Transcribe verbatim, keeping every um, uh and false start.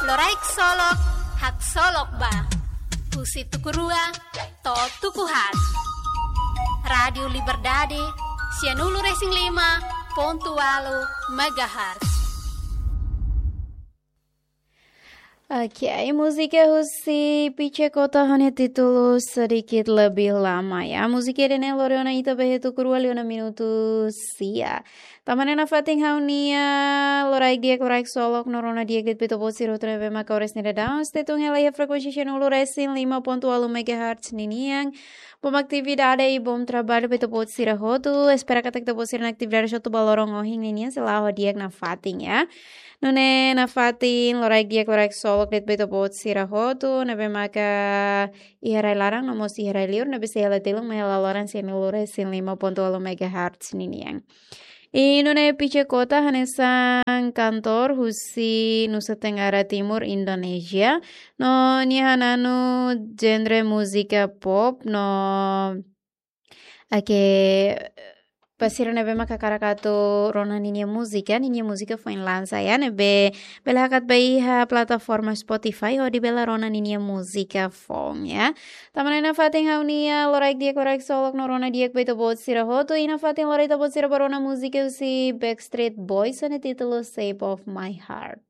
Loraik Solok, haksolok ba. Husi tuku rua to'o tuku haat. Rádiu Liberdade, sianulu-resin-lima pontu ualu megahertz. Oke, múzika husi Pice Kota ho nia títulu Sedikit Lebih Lama, ya. Múzika ida-ne'e lori ona ita ba iha tuku rua liu ona minutu sia. Tanba ne'e nafatin ha'u-nia loraik di'ak, loraik solok no rona di'ak de'it ba ita-boot sira hotu ne'ebé maka oras ne'e daudaun stay tune hela iha frekuénsia sianulu-resin-lima pontu ualu megahertz ninian. Bom atividade i bom traballu ba ita-boot sira hotu. Espera katak ita-boot sira-nia atividade hotu ba loron ohin ninian sei la'o ho di'ak nafatin, ya. Nune'e nafatin loraik di'ak, loraik solok de'it ba ita-boot sira hotu ne'ebé maka iha rai-laran no mós iha rai-liur ne'ebé sei hela telun mai hela loron sianulu-resin-lima pontu ualu megahertz ninian. I nune'e Pice Kota hanesan kantór husi Nusa Tenggara Timur, Indonézia. No nia hananu genre múzika pop no, oke, ba sira ne'ebé maka hakarak atu rona ninia múzika, ninia múzika foin lansa, ya, ne'ebé bele hakat ba iha plataforma Spotify hodi bele rona ninia múzika foun, ya. Tanba ne'e nafatin ha'u-nia loraik di'ak, loraik solok no rona di'ak ba ita-boot sira hotu, i nafatin lori ita-boot sira ba rona múzika husi Backstreet Boys ho nia títulu Shape of My Heart.